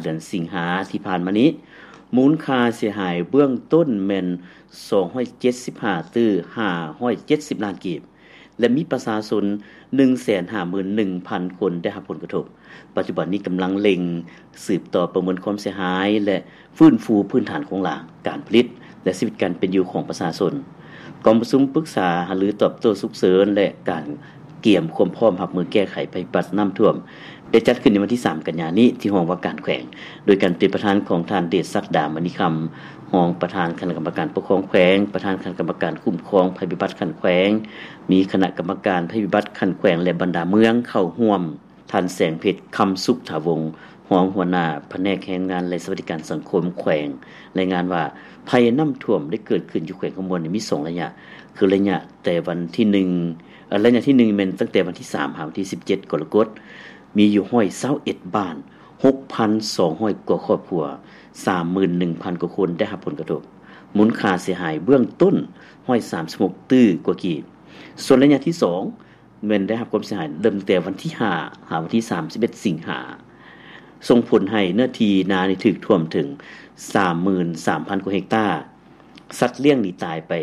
ເດືອນສິງຫາທີ່ຜ່ານມານີ້, ມູນຄ່າເສຍຫາຍເບື້ອງຕົ້ນແມ່ນສອງຮ້ອຍເຈັດສິບຫ້າຕື້ຫ້າຮ້ອຍເຈັດສິບລ້ານກີບ ແລະ ມີປະຊາຊົນໜຶ່ງແສນຫ້າໝື່ນໜຶ່ງພັນຄົນໄດ້ຮັບຜົນກະທົບ. ປັດຈຸບັນນີ້ກຳລັງເລັ່ງສືບຕໍ່ປະເມີນຄວາມເສຍຫາຍ ແລະ ຟື້ນຟູພື້ນຖານໂຄງລ່າງ, ການຜະລິດ ແລະ ຊີວິດການເປັນຢູ່ຂອງປະຊາຊົນ. ກອງປະຊຸມປຶກສາຫາລືຕອບໂຕ້ສຸກເສີນ ແລະ ການກຽມຄວາມພ້ອມຮັບມືແກ້ໄຂໄພພິບັດນ້ຳຖ້ວມ ໄດ້ຈັດຂຶ້ນໃນວັນທີສາມ ກັນຍານີ້ ທີ່ຫ້ອງວ່າການແຂວງ, ໂດຍການເປັນປະທານຂອງທ່ານ ເດດສັກດາ ມະນີຄຳ, ຮອງປະທານຄະນະກຳມະການປົກຄອງແຂວງ, ປະທານຄະນະກຳມະການຄຸ້ມຄອງໄພພິບັດຂັ້ນແຂວງ, ມີຄະນະກຳມະການໄພພິບັດຂັ້ນແຂວງ ແລະ ບັນດາເມືອງເຂົ້າຮ່ວມ. ທ່ານ ແສງເພັດ ຄຳສຸກຖາວົງ, ຮອງຫົວໜ້າພະແນກແຮງງານ ແລະ ສະຫວັດດີການສັງຄົມແຂວງ, ລາຍງານວ່າ ໄພນ້ຳຖ້ວມໄດ້ເກີດຂຶ້ນຢູ່ແຂວງຄຳມ່ວນນີ້ມີສອງໄລຍະ, ຄືໄລຍະແຕ່ວັນທີໜຶ່ງ ເອີ ໄລຍະທີໜຶ່ງແມ່ນຕັ້ງແຕ່ວັນທີສາມ ຫາວັນທີສິບເຈັດ ກໍລະກົດ, ມີຢູ່ຮ້ອຍຊາວເອັດບ້ານ, ຫົກພັນສອງຮ້ອຍກວ່າຄອບຄົວ, ສາມໝື່ນໜຶ່ງພັນກວ່າຄົນໄດ້ຮັບຜົນກະທົບ, ມູນຄ່າເສຍຫາຍເບື້ອງຕົ້ນ ຮ້ອຍສາມສິບຫົກຕື້ກວ່າກີບ. ສ່ວນໄລຍະທີສອງ ແມ່ນໄດ້ຮັບຄວາມເສຍຫາຍເລີ່ມແຕ່ວັນທີຫ້າ ຫາວັນທີສາມສິບເອັດ ສິງຫາ, ສົ່ງຜົນໃຫ້ເນື້ອທີ່ນານີ້ຖືກຖ້ວມເຖິງ ສາມໝື່ນສາມພັນກວ່າເຮັກຕາ, ສັດລ້ຽງນີ້ຕາຍໄປ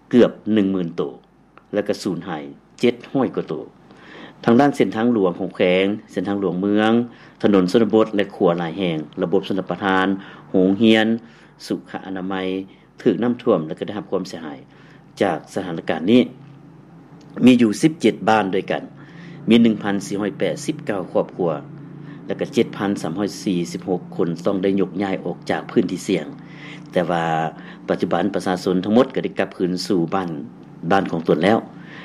ເກືອບໜຶ່ງໝື່ນໂຕ ແລະ ກະສູນຫາຍເຈັດຮ້ອຍກວ່າໂຕ. ທາງດ້ານເສັ້ນທາງຫຼວງຂອງແຂວງ, ເສັ້ນທາງຫຼວງເມືອງ, ຖະໜົນຊົນນະບົດ ແລະ ຂົວຫຼາຍແຫ່ງ, ລະບົບຊົນລະປະທານ, ໂຮງຮຽນ, ສຸຂະອະນາໄມ, ຖືກນ້ຳຖ້ວມ ແລະ ກໍໄດ້ຮັບຄວາມເສຍຫາຍຈາກສະຖານະການນີ້ ມີຢູ່ສິບເຈັດບ້ານດ້ວຍກັນ, ມີໜຶ່ງພັນສີ່ຮ້ອຍແປດສິບເກົ້າຄອບຄົວ ແລະ ກໍເຈັດພັນສາມຮ້ອຍສີ່ສິບຫົກຄົນຕ້ອງໄດ້ຍົກຍ້າຍອອກຈາກພື້ນທີ່ສ່ຽງ, ແຕ່ວ່າປັດຈຸບັນປະຊາຊົນທັງໝົດກໍໄດ້ກັບຄືນສູ່ບ້ານ, ບ້ານຂອງຕົນແລ້ວ.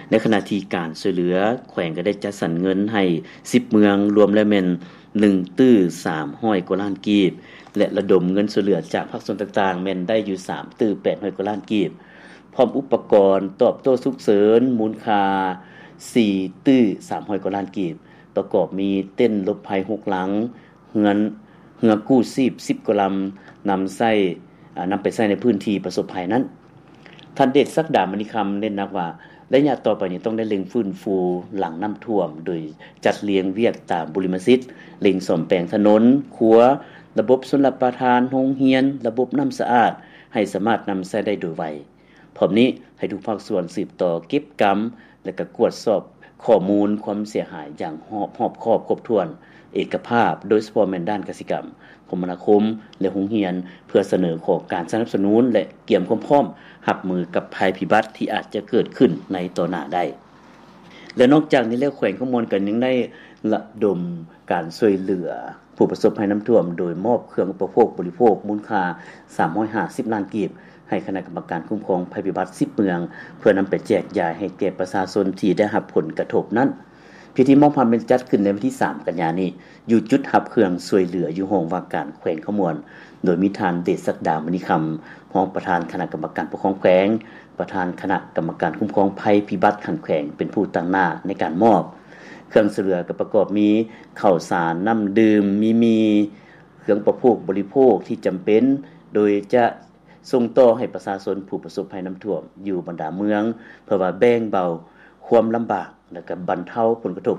ໃນຂະນະທີ່ການຊ່ວຍເຫຼືອ, ແຂວງກໍໄດ້ຈັດສັນເງິນໃຫ້ສິບເມືອງ, ລວມແລ້ວແມ່ນ ໜຶ່ງຕື້ສາມຮ້ອຍກວ່າລ້ານກີບ ແລະ ລະດົມເງິນຊ່ວຍເຫຼືອຈາກພາກສ່ວນຕ່າງໆ ແມ່ນໄດ້ຢູ່ສາມຕື້ແປດຮ້ອຍກວ່າລ້ານກີບ, ພ້ອມອຸປະກອນຕອບໂຕ້ສຸກເສີນມູນຄ່າສີ່ຕື້ສາມຮ້ອຍກວ່າລ້ານກີບ, ປະກອບມີເຕັນຫຼົບໄພຫົກຫຼັງ, ເຮືອນ, ເຮືອກູ້ຊີບສິບກວ່າລຳ, ນຳໃຊ້, ອາ, ນຳໄປໃຊ້ໃນພື້ນທີ່ປະສົບໄພນັ້ນ. ທ່ານ ເດດສັກດາ ມະນີຄຳ ເນັ້ນໜັກວ່າ ໄລຍະຕໍ່ໄປນີ້ຕ້ອງໄດ້ເລັ່ງຟື້ນຟູຫຼັງນ້ຳຖ້ວມ ໂດຍຈັດລຽງວຽກຕາມບຸລິມະສິດ, ເລັ່ງສ້ອມແປງຖະໜົນ, ຂົວ, ລະບົບຊົນລະປະທານ, ໂຮງຮຽນ, ລະບົບນ້ຳສະອາດ ໃຫ້ສາມາດນຳໃຊ້ໄດ້ໂດຍໄວ. ພ້ອມນີ້ ໃຫ້ທຸກພາກສ່ວນສືບຕໍ່ເກັບກຳ ແລະ ກະກວດສອບຂໍ້ມູນຄວາມເສຍຫາຍຢ່າງຮອບ, ຮອບຄອບຄົບຖ້ວນ, ເອກະພາບ, ໂດຍສະເພາະແມ່ນດ້ານກະສິກຳ, ຄົມມະນາຄົມ ແລະ ໂຮງຮຽນ ເພື່ອສະເໜີຂໍການສະໜັບສະໜູນ ແລະ ກຽມຄວາມພ້ອມຮັບມືກັບໄພພິບັດທີ່ອາດຈະເກີດຂຶ້ນໃນຕໍ່ໜ້າໄດ້. ແລະ ນອກຈາກນີ້ແລ້ວ ແຂວງຄຳມ່ວນກໍຍັງໄດ້ລະດົມການຊ່ວຍເຫຼືອ ຜູ້ປະສົບໄພນ້ຳຖ້ວມ ໂດຍມອບເຄື່ອງອຸປະໂພກບໍລິໂພກມູນຄ່າສາມຮ້ອຍຫ້າສິບລ້ານກີບ ໃຫ້ຄະນະກຳມະການຄຸ້ມຄອງໄພພິບັດສິບເມືອງ ເພື່ອນຳໄປແຈກຢາຍໃຫ້ແກ່ປະຊາຊົນທີ່ໄດ້ຮັບຜົນກະທົບນັ້ນ. ພິທີມອບຮັບແມ່ນຈັດຂຶ້ນໃນວັນທີສາມ ກັນຍານີ້ ຢູ່ຈຸດຮັບເຄື່ອງຊ່ວຍເຫຼືອຢູ່ຫ້ອງວ່າການແຂວງຄຳມ່ວນ, ໂດຍມີທ່ານ ເດດສັກດາ ມະນີຄຳ, ຮອງປະທານຄະນະກຳມະການປົກຄອງແຂວງ, ປະທານຄະນະກຳມະການຄຸ້ມຄອງໄພພິບັດຂັ້ນແຂວງ ເປັນຜູ້ຕາງໜ້າໃນການມອບ. ເຄື່ອງຊ່ວຍເຫຼືອກໍປະກອບມີ ເຂົ້າສານ, ນ້ຳດື່ມ, ມີໝີ່, ເຄື່ອງອຸປະໂພກບໍລິໂພກທີ່ຈຳເປັນ, ໂດຍຈະສົ່ງຕໍ່ໃຫ້ປະຊາຊົນຜູ້ປະສົບໄພນ້ຳຖ້ວມຢູ່ບັນດາເມືອງ ເພື່ອວ່າແບ່ງເບົາຄວາມລຳບາກ ແລະ ກະບັນເທົາຜົນກະທົບ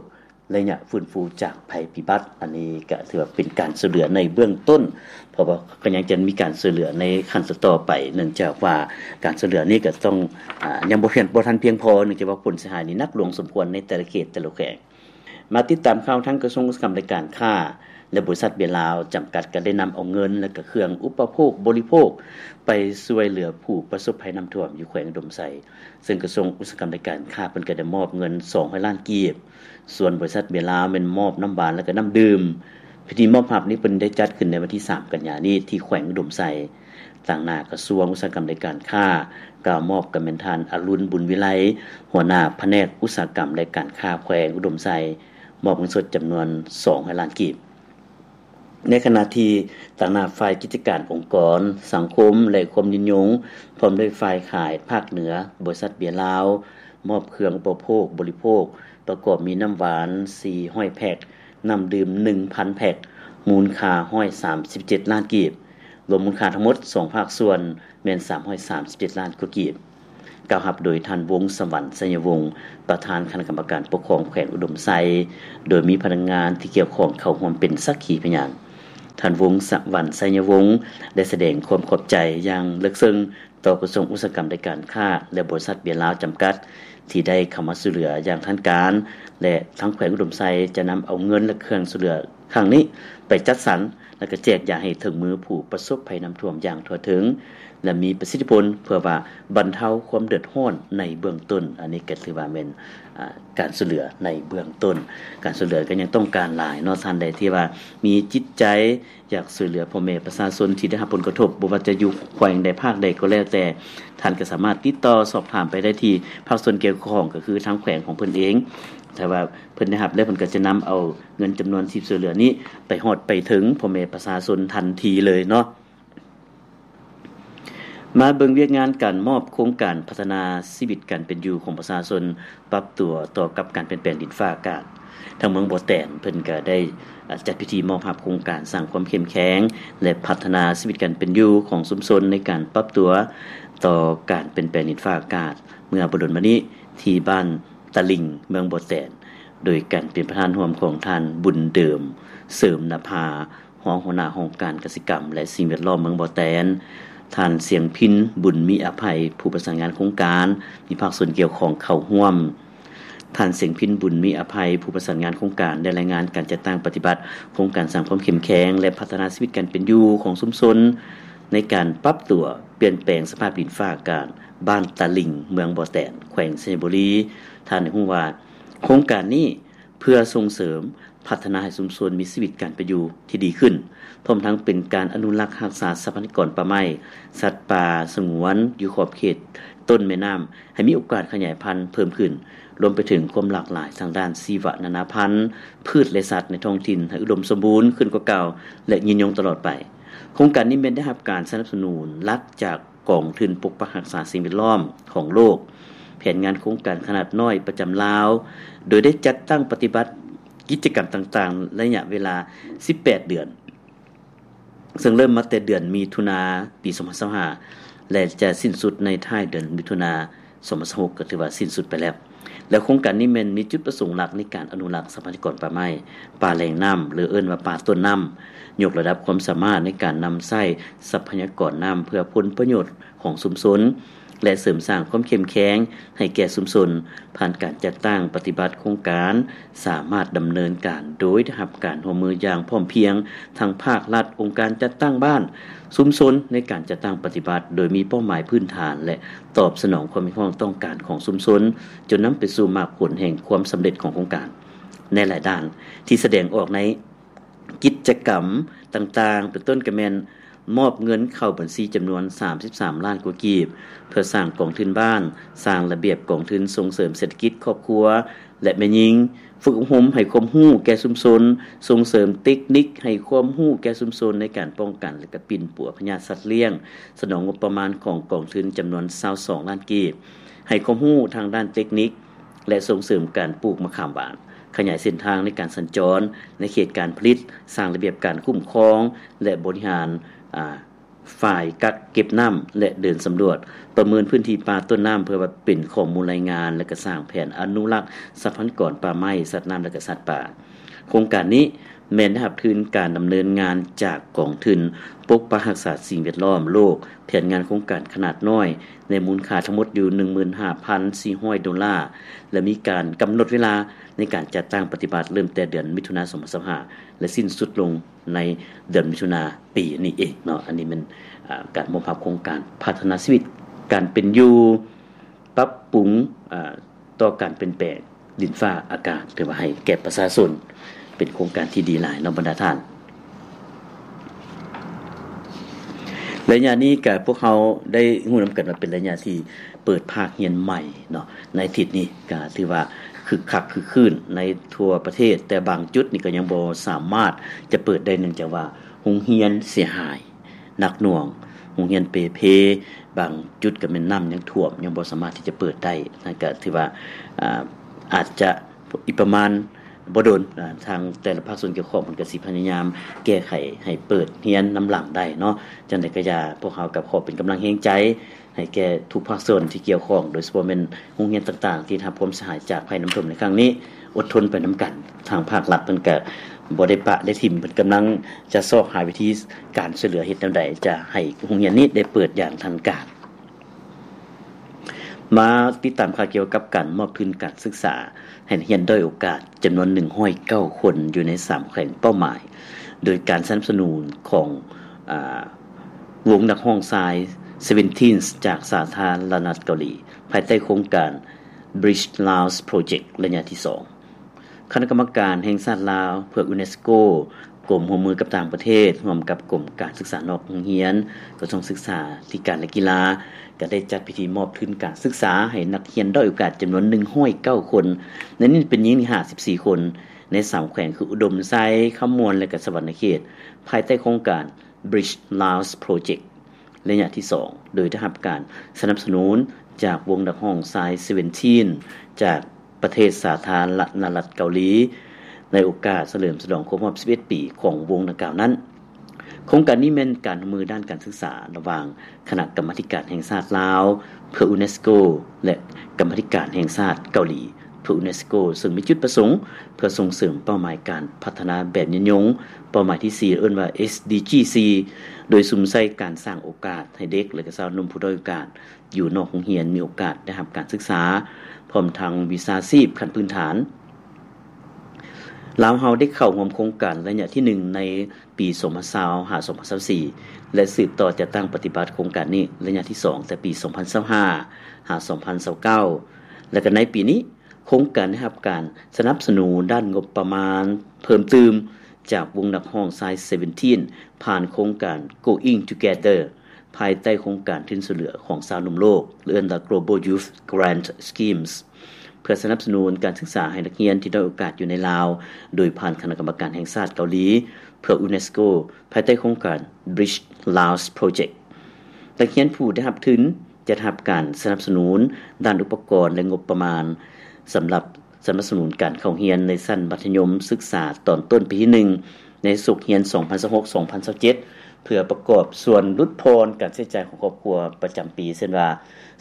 ໄລຍະຟື້ນຟູຈາກໄພພິບັດ. ອັນນີ້ກະຖືວ່າເປັນການຊ່ວຍເຫຼືອໃນເບື້ອງຕົ້ນ, ເພາະວ່າກໍຍັງຈະມີການຊ່ວຍເຫຼືອໃນຂັ້ນຕໍ່ໆໄປ, ເນື່ອງຈາກວ່າການຊ່ວຍເຫຼືອນີ້ກໍຕ້ອງ, ອາ, ຍັງບໍ່ພຽງ, ບໍ່ທັນພຽງພໍ, ເນື່ອງຈາກວ່າຜົນເສຍຫາຍນີ້ໜັກຫຼວງສົມຄວນໃນແຕ່ລະເຂດ, ແຕ່ລະແຂວງ. ມາຕິດຕາມຂ່າວທາງກະຊວງອຸດສາຫະກຳລາຍການຄ້າ ແລະ ບໍລິສັດເບຍລາວຈຳກັດ ກໍໄດ້ນຳເອົາເງິນ ແລະ ກະເຄື່ອງອຸປະໂພກບໍລິໂພກ ໄປຊ່ວຍເຫຼືອຜູ້ປະສົບໄພນ້ຳຖ້ວມຢູ່ແຂວງອຸດົມໄຊ, ເຊິ່ງກະຊວງອຸດສາຫະກຳ ແລະ ການຄ້າ ເພິ່ນກໍໄດ້ມອບເງິນສອງຮ້ອຍລ້ານກີບ, ສ່ວນບໍລິສັດເບຍລາວແມ່ນມອບນ້ຳຫວານ ແລະ ກະນ້ຳດື່ມ. ພິທີມອບຮັບນີ້ເພິ່ນໄດ້ຈັດຂຶ້ນໃນວັນທີສາມ ກັນຍານີ້ ທີ່ແຂວງອຸດົມໄຊ. ຕາງໜ້າກະຊວງອຸດສາຫະກຳ ແລະ ການຄ້າ ກ່າວມອບກໍແມ່ນທ່ານ ອະລຸນ ບຸນວິໄລ, ຫົວໜ້າພະແນກອຸດສາຫະກຳ ແລະ ການຄ້າແຂວງອຸດົມໄຊ, ມອບເງິນສົດຈຳນວນສອງຮ້ອຍລ້ານກີບ. ໃນຂະນະທີ່ຕາງໜ້າຝ່າຍກິດຈະການອົງກອນ, ສັງຄົມ ແລະ ຄວາມຍືນຍົງ, ພ້ອມດ້ວຍຝ່າຍຂາຍພາກເໜືອ, ບໍລິສັດເບຍລາວ ມອບເຄື່ອງອຸປະໂພກບໍລິໂພກ ປະກອບມີນ້ຳຫວານສີ່ຮ້ອຍແພັກ, ນ້ຳດື່ມໜຶ່ງພັນແພັກ, ມູນຄ່າຮ້ອຍສາມສິບເຈັດລ້ານກີບ. ລວມມູນຄ່າທັງໝົດສອງພາກສ່ວນແມ່ນສາມຮ້ອຍສາມສິບເຈັດລ້ານກວ່າກີບ. ກ່າວຮັບໂດຍທ່ານ ວົງສະຫວັນ ໄຊຍະວົງ, ປະທານຄະນະກຳມະການປົກຄອງແຂວງອຸດົມໄຊ, ໂດຍມີພະນັກງານທີ່ກ່ຽວຂ້ອງເຂົ້າຮ່ວມເປັນສັກຂີພະຍານ. ທ່ານ ວົງສະຫວັນ ໄຊຍະວົງ ໄດ້ສະແດງຄວາມຂອບໃຈຢ່າງເລິກເຊິ່ງຕໍ່ກະຊວງອຸດສາຫະກຳ ແລະ ການຄ້າ ແລະ ບໍລິສັດເບຍລາວຈຳກັດ ທີ່ໄດ້ເຂົ້າມາຊ່ວຍເຫຼືອຢ່າງທາງການ ແລະ ທາງແຂວງອຸດົມໄຊຈະນຳເອົາເງິນ ແລະ ເຄື່ອງຊ່ວຍເຫຼືອຄັ້ງນີ້ໄປຈັດສັນ ແລະ ກະແຈກຢາຍໃຫ້ເຖິງມືຜູ້ປະສົບໄພນ້ຳຖ້ວມຢ່າງທົ່ວເຖິງ ແລະ ມີປະສິດທິຜົນ ເພື່ອວ່າບັນເທົາຄວາມເດືອດຮ້ອນໃນເບື້ອງຕົ້ນ. ອັນນີ້ກະຖືວ່າແມ່ນ ອາ ການຊ່ວຍເຫຼືອໃນເບື້ອງຕົ້ນ. ການຊ່ວຍເຫຼືອກະຍັງຕ້ອງການຫຼາຍເນາະ. ທ່ານໃດທີ່ວ່າມີຈິດໃຈຢາກຊ່ວຍເຫຼືອພໍ່ແມ່ປະຊາຊົນທີ່ໄດ້ຮັບຜົນກະທົບ ບໍ່ວ່າຈະຢູ່ແຂວງໃດພາກໃດກໍແລ້ວແຕ່, ທ່ານກະສາມາດຕິດຕໍ່ສອບຖາມໄປໄດ້ທີ່ພາກສ່ວນກ່ຽວຂ້ອງ ກະຄືທາງແຂວງຂອງເພິ່ນເອງ. ຖ້າວ່າເພິ່ນໄດ້ຮັບແລ້ວ ເພິ່ນກະຈະນຳເອົາເງິນຈຳນວນທີ່ຊ່ວຍເຫຼືອນີ້ໄປຮອດໄປເຖິງພໍ່ແມ່ປະຊາຊົນທັນທີເລີຍເນາະ. ມາເບິ່ງວຽກງານການມອບໂຄງການພັດທະນາຊີວິດການເປັນຢູ່ຂອງປະຊາຊົນ ປັບຕົວຕໍ່ກັບການປ່ຽນແປງດິນຟ້າອາກາດ. ທາງເມືອງບໍ່ແຕນເພິ່ນກະໄດ້ ອາ ຈັດພິທີມອບຮັບໂຄງການສ້າງຄວາມເຂັ້ມແຂງ ແລະ ພັດທະນາຊີວິດການເປັນຢູ່ຂອງຊຸມຊົນໃນການປັບຕົວຕໍ່ການປ່ຽນແປງດິນຟ້າອາກາດ ເມື່ອບໍ່ດົນມານີ້ທີ່ບ້ານຕະລິ່ງ ເມືອງບໍ່ແຕນ ໂດຍການເປັນປະທານຮ່ວມຂອງທ່ານ ບຸນເດີມ ເສີມນະພາ ຮອງຫົວໜ້າຫ້ອງການກະສິກຳ ແລະ ສິ່ງແວດລ້ອມເມືອງບໍ່ແຕນ, ທ່ານ ສຽງພິນ ບຸນມີອະໄພ ຜູ້ປະສານງານໂຄງການ, ມີພາກສ່ວນກ່ຽວຂ້ອງເຂົ້າຮ່ວມ. ທ່ານ ສຽງພິນ ບຸນມີອະໄພ ຜູ້ປະສານງານໂຄງການ ໄດ້ລາຍງານການຈັດຕັ້ງປະຕິບັດໂຄງການສ້າງຄວາມເຂັ້ມແຂງ ແລະ ພັດທະນາຊີວິດການເປັນຢູ່ຂອງຊຸມຊົນ ໃນການປັບຕົວປ່ຽນແປງສະພາບດິນຟ້າອາກາດ ບ້ານຕະລິ່ງ ເມືອງບໍ່ແຕນ ແຂວງໄຊຍະບູລີ. ທ່ານໄດ້ຮູ້ວ່າ ໂຄງການນີ້ເພື່ອສົ່ງເສີມ ພັດທະນາໃຫ້ຊຸມຊົນມີຊີວິດການເປັນຢູ່ທີ່ດີຂຶ້ນ, ພ້ອມທັງເປັນການອະນຸລັກຮັກສາຊັບພະຍາກອນປ່າໄມ້, ສັດປ່າສະຫງວນຢູ່ຂອບເຂດຕົ້ນແມ່ນ້ຳ ໃຫ້ມີໂອກາດຂະຫຍາຍພັນເພີ່ມຂຶ້ນ, ລວມໄປເຖິງຄວາມຫຼາກຫຼາຍທາງດ້ານຊີວະນານາພັນ, ພືດ ແລະ ສັດໃນທ້ອງຖິ່ນໃຫ້ອຸດົມສົມບູນຂຶ້ນກວ່າເກົ່າ ແລະ ຍືນຍົງຕະຫຼອດໄປ. ໂຄງການນີ້ແມ່ນໄດ້ຮັບການສະໜັບສະໜູນຫຼັກຈາກ ກອງທຶນປົກປັກຮັກສາສິ່ງແວດລ້ອມຂອງໂລກ, ແຜນງານໂຄງການຂະໜາດນ້ອຍປະຈຳລາວ, ໂດຍໄດ້ຈັດຕັ້ງປະຕິບັດກິດຈະກຳຕ່າງໆ ໄລຍະເວລາສິບແປດເດືອນ, ເຊິ່ງເລີ່ມມາແຕ່ເດືອນມິຖຸນາປີສອງພັນຊາວຫ້າ ແລະ ຈະສິ້ນສຸດໃນທ້າຍເດືອນມິຖຸນາ ສອງພັນຊາວຫົກ ກໍຖືວ່າສິ້ນສຸດໄປແລ້ວ. ແລະ ໂຄງການນີ້ແມ່ນມີຈຸດປະສົງຫຼັກໃນການອະນຸລັກຊັບພະຍາກອນປ່າໄມ້, ປ່າແຫຼ່ງນ້ຳ ຫຼື ເອີ້ນວ່າປ່າຕົ້ນນ້ຳ, ຍົກລະດັບຄວາມສາມາດໃນການນຳໃຊ້ຊັບພະຍາກອນນ້ຳເພື່ອຜົນປະໂຫຍດຂອງຊຸມຊົນ ແລະ ເສີມສ້າງຄວາມເຂັ້ມແຂງໃຫ້ແກ່ຊຸມຊົນ. ຜ່ານການຈັດຕັ້ງປະຕິບັດໂຄງການ ສາມາດດຳເນີນການໂດຍໄດ້ຮັບການຮ່ວມມືຢ່າງພ້ອມພຽງ ທັງພາກລັດ, ອົງການຈັດຕັ້ງບ້ານ, ຊຸມຊົນ ໃນການຈັດຕັ້ງປະຕິບັດ ໂດຍມີເປົ້າໝາຍພື້ນຖານ ແລະ ຕອບສະໜອງຄວາມຮຽກຮ້ອງຕ້ອງການຂອງຊຸມຊົນ, ຈົນນຳໄປສູ່ໝາກຜົນແຫ່ງຄວາມສຳເລັດຂອງໂຄງການໃນຫຼາຍດ້ານ ທີ່ສະແດງອອກໃນກິດຈະກຳຕ່າງໆ ເປັນຕົ້ນກະແມ່ນ ມອບເງິນເຂົ້າບັນຊີຈຳນວນສາມສິບສາມລ້ານກວ່າກີບ ເພື່ອສ້າງກອງທຶນບ້ານ, ສ້າງລະບຽບກອງທຶນສົ່ງເສີມເສດຖະກິດຄອບຄົວ ແລະ ແມ່ຍິງ, ຝຶກອົບຮົມໃຫ້ຄວາມຮູ້ແກ່ຊຸມຊົນ, ສົ່ງເສີມເຕັກນິກໃຫ້ຄວາມຮູ້ແກ່ຊຸມຊົນໃນການປ້ອງກັນ ແລະ ກະປິ່ນປົວພະຍາດສັດລ້ຽງ, ສະໜອງງົບປະມານຂອງກອງທຶນຈຳນວນຊາວສອງລ້ານກີບ, ໃຫ້ຄວາມຮູ້ທາງດ້ານເຕັກນິກ ແລະ ສົ່ງເສີມການປູກມະຂາມຫວານ, ຂະຫຍາຍເສັ້ນທາງໃນການສັນຈອນໃນເຂດການຜະລິດ, ສ້າງລະບຽບການຄຸ້ມຄອງ ແລະ ບໍລິຫານ ອາ ຝາຍກັກເກັບນ້ຳ ແລະ ເດີນສຳຫຼວດ, ປະເມີນພື້ນທີ່ປ່າຕົ້ນນ້ຳ ເພື່ອວ່າເປັນຂໍ້ມູນລາຍງານ ແລະ ກະສ້າງແຜນອະນຸລັກຊັບພະຍາກອນປ່າໄມ້, ສັດນ້ຳ ແລະ ກະສັດປ່າ. ໂຄງການນີ້ແມ່ນໄດ້ຮັບທຶນການດຳເນີນງານຈາກກອງທຶນປົກປັກຮັກສາສິ່ງແວດລ້ອມໂລກ, ແຜນງານໂຄງການຂະໜາດນ້ອຍ ໃນມູນຄ່າທັງໝົດຢູ່ໜຶ່ງໝື່ນຫ້າພັນສີ່ຮ້ອຍໂດລາ ແລະ ມີການກຳນົດເວລາໃນການຈັດຕັ້ງປະຕິບັດ ເລີ່ມແຕ່ເດືອນມິຖຸນາ ສອງພັນຊາວຫ້າ ແລະ ສິ້ນສຸດລົງໃນເດືອນມິຖຸນາປີນີ້ເອງເນາະ. ອັນນີ້ແມ່ນ ອາ ການມອບຮັບໂຄງການພັດທະນາຊີວິດການເປັນຢູ່ ປັບປຸງ ອາ ຕໍ່ການປ່ຽນແປງດິນຟ້າອາກາດ ຖືວ່າໃຫ້ແກ່ປະຊາຊົນ ເປັນໂຄງການທີ່ດີຫຼາຍເນາະບັນດາທ່ານ. ໄລຍະນີ້ກະພວກເຮົາໄດ້ຮູ້ນຳກັນວ່າເປັນໄລຍະທີ່ເປີດພາກຮຽນໃໝ່ເນາະ ໃນອາທິດນີ້ກະຖືວ່າຄຶກຄັກຄຶກຄື້ນໃນທົ່ວປະເທດ, ແຕ່ບາງຈຸດນີ້ກະຍັງບໍ່ສາມາດຈະເປີດໄດ້ ເນື່ອງຈາກວ່າໂຮງຮຽນເສຍຫາຍ ໜັກໜ່ວງ, ໂຮງຮຽນເປ່ເພ, ບາງຈຸດກໍແມ່ນນ້ຳຍັງຖ້ວມ ຍັງບໍ່ສາມາດທີ່ຈະເປີດໄດ້. ນັ້ນກໍຖືວ່າ ອາ ອາດຈະອີກປະມານບໍ່ດົນ ອາ ທາງແຕ່ລະພາກສ່ວນກ່ຽວຂ້ອງເພິ່ນກໍຊິພະຍາຍາມແກ້ໄຂໃຫ້ເປີດຮຽນນຳຫຼັງໄດ້ເນາະ. ຈັ່ງໃດກໍຢ່າ ພວກເຮົາກໍຂໍເປັນກຳລັງແຮງໃຈໃຫ້ແກ່ທຸກພາກສ່ວນທີ່ກ່ຽວຂ້ອງ ໂດຍສະເພາະແມ່ນໂຮງຮຽນຕ່າງໆທີ່ໄດ້ຮັບຄວາມເສຍຫາຍຈາກໄພນ້ຳຖ້ວມໃນຄັ້ງນີ້. ອົດທົນໄປນຳກັນ, ທາງພາກລັດເພິ່ນກະ ບໍ່ໄດ້ປະໄດ້ຖິ້ມ ເພິ່ນກຳລັງຈະຊອກຫາວິທີການຊ່ວຍເຫຼືອເຮັດແນວໃດຈະໃຫ້ໂຮງຮຽນນີ້ໄດ້ເປີດຢ່າງທັນການ. ມາຕິດຕາມຂ່າວກ່ຽວກັບການມອບທຶນການສຶກສາໃຫ້ນັກຮຽນດ້ອຍໂອກາດຈຳນວນໜຶ່ງຮ້ອຍເກົ້າຄົນຢູ່ໃນສາມແຂວງເປົ້າໝາຍ ໂດຍການສະໜັບສະໜູນຂອງ ອາ ວົງນັກຮ້ອງຊາຍ Seventeen ຈາກສາທາລະນະລັດເກົາຫຼີ ພາຍໃຕ້ໂຄງການ Bridge Laos Project ໄລຍະທີສອງ. ຄະນະກຳມະການແຫ່ງຊາດລາວເພື່ອ UNESCO ກົມຮ່ວມມືກັບຕ່າງປະເທດ ຮ່ວມກັບກົມການສຶກສານອກໂຮງຮຽນ ກະຊວງສຶກສາທິການ ແລະ ກິລາ ກໍໄດ້ຈັດພິທີມອບທຶນການສຶກສາໃຫ້ນັກຮຽນດ້ອຍໂອກາດຈຳນວນໜຶ່ງຮ້ອຍເກົ້າຄົນ, ໃນນີ້ເປັນຍິງຫ້າສິບສີ່ຄົນ ໃນສາມແຂວງຄື ອຸດົມໄຊ, ຄຳມ່ວນ ແລະ ກະສະຫວັນນະເຂດ ພາຍໃຕ້ໂຄງການ Bridge Laos Project ໄລຍະທີສອງ ໂດຍໄດ້ຮັບການສະໜັບສະໜູນຈາກວົງນັກຮ້ອງຊາຍ Seventeen ຈາກປະເທດສາທາລະນະລັດເກົາຫຼີ ໃນໂອກາດສະເຫຼີມສະຫຼອງຄົບຮອບສິບເອັດປີຂອງວົງດັ່ງກ່າວນັ້ນ. ໂຄງການນີ້ແມ່ນການຮ່ວມມືດ້ານການສຶກສາລະຫວ່າງຄະນະກຳມາທິການແຫ່ງຊາດລາວເພື່ອ UNESCO ແລະ ກຳມາທິການແຫ່ງຊາດເກົາຫຼີ ເພື່ອ UNESCO ເຊິ່ງມີຈຸດປະສົງເພື່ອສົ່ງເສີມເປົ້າໝາຍການພັດທະນາແບບຍືນຍົງ ເປົ້າໝາຍທີສີ່ ເອີ້ນວ່າ SDG ສີ່ ໂດຍສຸມໃສ່ການສ້າງໂອກາດໃຫ້ເດັກ ແລະ ກະຊາວໜຸ່ມຜູ້ດ້ອຍໂອກາດຢູ່ນອກໂຮງຮຽນມີໂອກາດໄດ້ຮັບການສຶກສາ ພ້ອມທັງວິຊາຊີບຂັ້ນພື້ນຖານ. ລາວເຮົາໄດ້ເຂົ້າຮ່ວມໂຄງການໄລຍະທີໜຶ່ງໃນປີສອງພັນຊາວ ຫາ ສອງພັນຊາວສີ່ ແລະ ສືບຕໍ່ຈັດຕັ້ງປະຕິບັດໂຄງການນີ້ໄລຍະທີສອງ ແຕ່ປີສອງພັນຊາວຫ້າ ຫາ ສອງພັນຊາວເກົ້າ ແລະ ກໍໃນປີນີ້ ໂຄງການໄດ້ຮັບການສະໜັບສະໜູນດ້ານງົບປະມານເພີ່ມຕື່ມຈາກວົງນັກຮ້ອງຊາຍ Seventeen ຜ່ານໂຄງການ Going Together ພາຍໃຕ້ໂຄງການທຶນຊ່ວຍເຫຼືອຂອງຊາວໜຸ່ມໂລກ ເອີ້ນວ່າ Global Youth Grant Schemes ເພື່ອສະໜັບສະໜູນການສຶກສາໃຫ້ນັກຮຽນທີ່ດ້ອຍໂອກາດຢູ່ໃນລາວ ໂດຍຜ່ານຄະນະກຳມະການແຫ່ງຊາດເກົາຫຼີ ເພື່ອ UNESCO ພາຍໃຕ້ໂຄງການ Bridge Laos Project. ນັກຮຽນຜູ້ໄດ້ຮັບທຶນ ຈະໄດ້ຮັບການສະໜັບສະໜູນດ້ານອຸປະກອນ ແລະ ງົບປະມານ ສຳລັບສະໜັບສະໜູນການເຂົ້າຮຽນໃນຊັ້ນມັດທະຍົມສຶກສາຕອນຕົ້ນປີທີໜຶ່ງ ໃນສົກຮຽນສອງພັນຊາວຫົກ ສອງພັນຊາວເຈັດ ເພື່ອປະກອບສ່ວນຫຼຸດຜ່ອນການໃຊ້ຈ່າຍຂອງຄອບຄົວປະຈຳປີ ເຊັ່ນວ່າ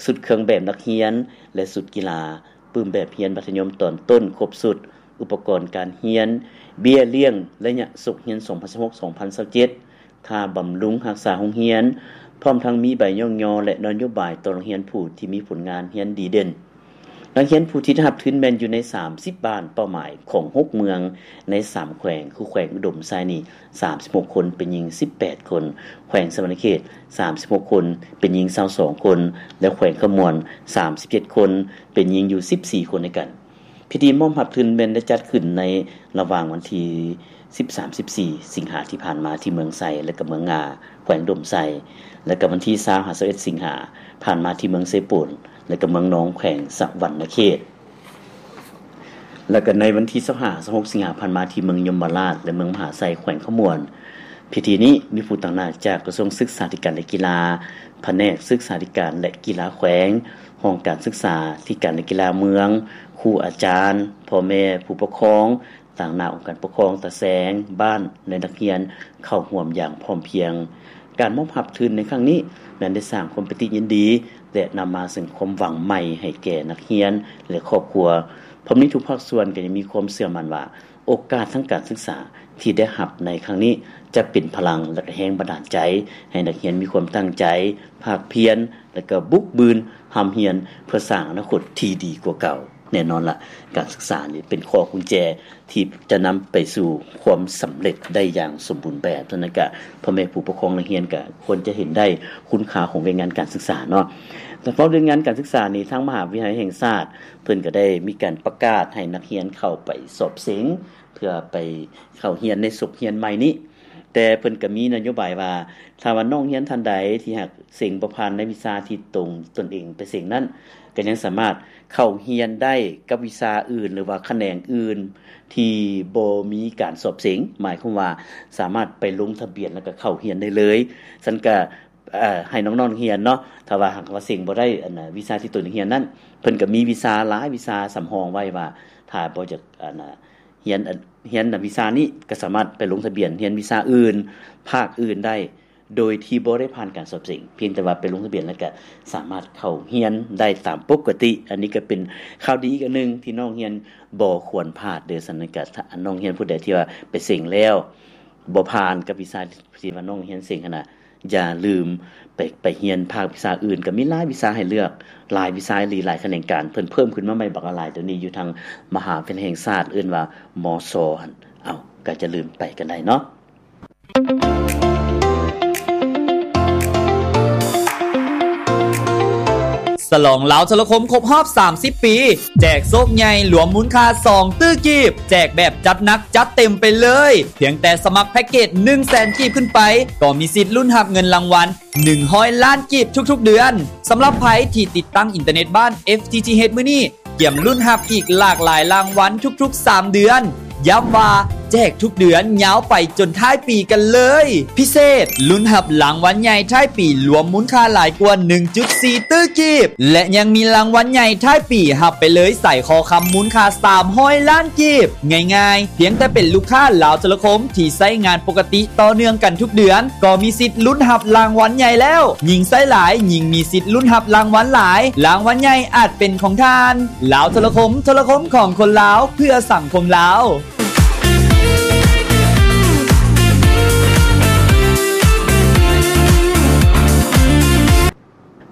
ຊຸດເຄື່ອງແບບນັກຮຽນ ແລະ ຊຸດກິລາ, ປຶ້ມແບບຮຽນມັດທະຍົມຕອນຕົ້ນຄົບຊຸດ, ອຸປະກອນການຮຽນ, ເບ້ຍລ້ຽງໄລຍະສົກຮຽນສອງພັນຊາວຫົກ ສອງພັນຊາວເຈັດ, ຄ່າບຳລຸງຮັກສາໂຮງຮຽນ, ພ້ອມທັງມີໃບຍ້ອງຍໍ ແລະ ນະໂຍບາຍຕໍ່ນັກຮຽນຜູ້ທີ່ມີຜົນງານຮຽນດີເດັ່ນ. ນັກຮຽນຜູ້ທີ່ໄດ້ຮັບທຶນແມ່ນຢູ່ໃນສາມສິບບ້ານເປົ້າໝາຍຂອງຫົກເມືອງໃນສາມແຂວງ ຄືແຂວງອຸດົມໄຊນີ້ ສາມສິບຫົກຄົນ ເປັນຍິງສິບແປດຄົນ, ແຂວງສະຫວັນນະເຂດ ສາມສິບຫົກຄົນ ເປັນຍິງຊາວສອງຄົນ ແລະ ແຂວງຄຳມ່ວນ ສາມສິບເຈັດຄົນ ເປັນຍິງຢູ່ສິບສີ່ຄົນດ້ວຍກັນ. ພິທີມອບຮັບທຶນແມ່ນໄດ້ຈັດຂຶ້ນໃນລະຫວ່າງວັນທີສິບສາມ ສິບສີ່ ສິງຫາທີ່ຜ່ານມາທີ່ເມືອງໄຊ ແລະ ກໍເມືອງງາ ແຂວງອຸດົມໄຊ ແລະ ກໍວັນທີຊາວ ຫາ ຊາວເອັດ ສິງຫາຜ່ານມາທີ່ເມືອງເຊໂປນ ແລະ ກໍເມືອງນອງ ແຂວງສະຫວັນນະເຂດ ແລະ ກໍໃນວັນທີຊາວຫ້າ ຊາວຫົກ ສິງຫາຜ່ານມາທີ່ເມືອງຍົມມະລາດ ແລະ ເມືອງມະຫາໄຊ ແຂວງຄຳມ່ວນ. ພິທີນີ້ມີຜູ້ຕາງໜ້າຈາກກະຊວງສຶກສາທິການ ແລະ ກິລາ, ພະແນກສຶກສາທິການ ແລະ ກິລາແຂວງ, ຫ້ອງການສຶກສາທິການ ແລະ ກິລາເມືອງ, ຄູອາຈານ, ພໍ່ແມ່ຜູ້ປົກຄອງ, ຕາງໜ້າອົງການປົກຄອງຕາແສງບ້ານ ແລະ ນັກຮຽນເຂົ້າຮ່ວມຢ່າງພ້ອມພຽງ. ການມອບຮັບທຶນໃນຄັ້ງນີ້ແມ່ນໄດ້ສ້າງຄວາມປີຕິຍິນດີ ແລະ ນຳມາເຊິ່ງຄວາມຫວັງໃໝ່ໃຫ້ແກ່ນັກຮຽນ ແລະ ຄອບຄົວ. ພ້ອມນີ້ທຸກພາກສ່ວນກໍຍັງມີຄວາມເຊື່ອໝັ້ນວ່າ ໂອກາດທາງການສຶກສາທີ່ໄດ້ຮັບໃນຄັ້ງນີ້ ຈະເປັນພະລັງ ແລະ ກໍແຮງບັນດານໃຈໃຫ້ນັກຮຽນມີຄວາມຕັ້ງໃຈ, ພາກພຽນ ແລະ ກໍບຸກບືນຮ່ຳຮຽນເພື່ອສ້າງອະນາຄົດທີ່ດີກວ່າເກົ່າ. ແນ່ນອນລະ ການສຶກສານີ້ເປັນຂໍ້ກຸນແຈທີ່ຈະນຳໄປສູ່ຄວາມສຳເລັດໄດ້ຢ່າງສົມບູນແບບ. ສະນັ້ນກະ ພໍ່ແມ່ຜູ້ປົກຄອງນັກຮຽນກະຄວນຈະເຫັນໄດ້ຄຸນຄ່າຂອງວຽກງານການສຶກສາເນາະ. ແຕ່ເວົ້າເລື່ອງງານການສຶກສານີ້ ທາງມະຫາວິທະຍາໄລແຫ່ງຊາດ ເພິ່ນກະໄດ້ມີການປະກາດໃຫ້ນັກຮຽນເຂົ້າໄປສອບເສັງ ເພື່ອໄປເຂົ້າຮຽນໃນສົກຮຽນໃໝ່ນີ້. ແຕ່ເພິ່ນກະມີນະໂຍບາຍວ່າ ຖ້າວ່ານ້ອງຮຽນທ່ານໃດທີ່ຫາກເສັງບໍ່ຜ່ານໃນວິຊາທີ່ຕົນ ຕົນເອງໄປເສັງນັ້ນ ກໍຍັງສາມາດເຂົ້າຮຽນໄດ້ກັບວິຊາອື່ນ ຫຼືວ່າຂະແໜງອື່ນທີ່ບໍ່ມີການສອບເສັງ, ໝາຍຄວາມວ່າສາມາດໄປລົງທະບຽນ ແລ້ວກໍເຂົ້າຮຽນໄດ້ເລີຍ. ຊັ້ນກໍ ເອີ ໃຫ້ນ້ອງໆຮຽນເນາະ, ຖ້າວ່າຫາກວ່າເສັງບໍ່ໄດ້ ອັນ ວິຊາທີ່ຕົນຮຽນນັ້ນ ເພິ່ນກໍມີວິຊາຫຼາຍວິຊາສຳຮອງໄວ້ວ່າ ຖ້າບໍ່ຢາກ ອັນ ຮຽນ ຮຽນວິຊານີ້ ກໍສາມາດໄປລົງທະບຽນຮຽນວິຊາອື່ນ ພາກອື່ນໄດ້. ໂດຍທີ່ບໍ່ໄດ້ຜ່ານການສອບເສັງ, ພຽງແຕ່ວ່າໄປລົງທະບຽນແລ້ວກະສາມາດເຂົ້າຮຽນໄດ້ຕາມປົກກະຕິ. ອັນນີ້ກະເປັນຂ່າວດີອີກອັນໜຶ່ງທີ່ນ້ອງຮຽນບໍ່ຄວນພາດເດີ້. ສະນັ້ນກະ ຖ້ານ້ອງຮຽນຜູ້ໃດທີ່ວ່າໄປເສັງແລ້ວ ບໍ່ຜ່ານກັບວິຊາທີ່ວ່ານ້ອງຮຽນເສັງຫັ້ນນະ, ຢ່າລືມໄປ ໄປຮຽນພາກວິຊາອື່ນ, ກະມີຫຼາຍວິຊາໃຫ້ເລືອກ, ຫຼາຍວິຊາອີ່ຫຼີ, ຫຼາຍຂະແໜງການ. ເພິ່ນເພີ່ມຂຶ້ນມາໃໝ່ບັກຫຼາຍ, ດຽວນີ້ຢູ່ທາງມະຫາວິທະຍາໄລແຫ່ງຊາດ ເອີ້ນວ່າ ມຊ ຫັ້ນ. ເອົ້າ, ກະຢ່າລືມໄປກັນໄດ້ເນາະ. ສະຫຼອງລາວໂທລະຄົມຄົບຮອບສາມສິບປີ ແຈກໂຊກໃຫຍ່ລວມມູນຄ່າສອງຕື້ກີບ, ແຈກແບບຈັດໜັກຈັດເຕັມໄປເລີຍ. ພຽງແຕ່ສະໝັກແພັກເກດໜຶ່ງແສນກີບຂຶ້ນໄປ ກໍມີສິດລຸ້ນຮັບເງິນລາງວັນໜຶ່ງຮ້ອຍລ້ານກີບທຸກໆເດືອນ. ສຳລັບໃຜທີ່ຕິດຕັ້ງອິນເຕີເນັດບ້ານ ເອັຟທີທີເອດ ມື້ນີ້ ກຽມລຸ້ນຮັບອີກຫຼາກຫຼາຍລາງວັນທຸກໆສາມເດືອນ. ຢ້ຳວ່າແຈກທຸກເດືອນຍາວໄປຈົນທ້າຍປີກັນເລີຍ. ພິເສດ, ລຸ້ນຮັບລາງວັນໃຫຍ່ທ້າຍປີລວມມູນຄ່າຫຼາຍກວ່າໜຶ່ງຈຸດສີ່ຕື້ກີບ ແລະ ຍັງມີລາງວັນໃຫຍ່ທ້າຍປີຮັບໄປເລີຍສາຍຄໍຄຳມູນຄ່າສາມຮ້ອຍລ້ານກີບ. ງ່າຍໆ, ພຽງແຕ່ເປັນລູກຄ້າລາວໂທລະຄົມທີ່ໃຊ້ງານປົກກະຕິຕໍ່ເນື່ອງກັນທຸກເດືອນ ກໍມີສິດລຸ້ນຮັບລາງວັນໃຫຍ່ແລ້ວ. ຍິ່ງໃຊ້ຫຼາຍ, ຍິ່ງມີສິດລຸ້ນຮັບລາງວັນຫຼາຍ. ລາງວັນໃຫຍ່ອາດເປັນຂອງທ່ານ. ລາວໂທລະຄົມ, ໂທລະຄົມຂອງຄົນລາວ, ເພື່ອສັງຄົມລາວ.